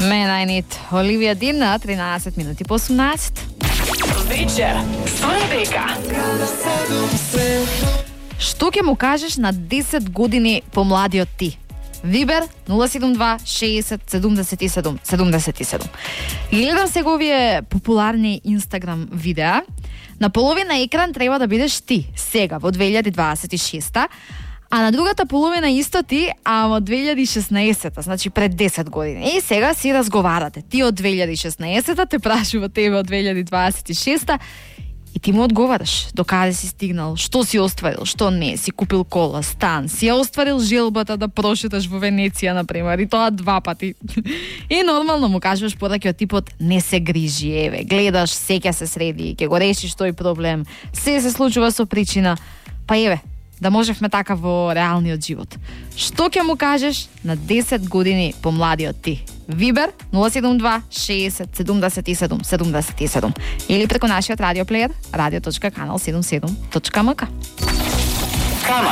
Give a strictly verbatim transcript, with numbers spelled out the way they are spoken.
Менајнит Оливија Дин на тринаесет минути по осумнаесет. Вечер со дека. Што ќе му кажеш на десет години помладиот ти? Вибер нула седум два шеесет седумдесет и седум седумдесет и седум. Гледам сега овие популарни Инстаграм видеа. На половина екран треба да бидеш ти, сега, во две илјади дваесет и шеста, а на другата половина исто ти, а во две илјади и шеснаесета, значи пред десет години. И сега си разговарате. Ти од две илјади и шеснаесета те прашува тебе од две илјади дваесет и шеста и ти му одговараш до каде си стигнал, што си остварил, што не, си купил кола, стан, си ја остварил желбата да прошеташ во Венеција, например, и тоа два пати. И нормално му кажуваш пораки од типот не се грижи, еве, гледаш, се ќе се среди, ќе го решиш тој проблем, се се случува со причина, па еве, да можевме така во реалниот живот. Што ќе му кажеш на десет години помладиот ти? Вибер нула седум два шеесет седумдесет и седум седумдесет и седум или преку нашиот радиоплеер радио точка канал седумдесет и седум точка ем ка. Канал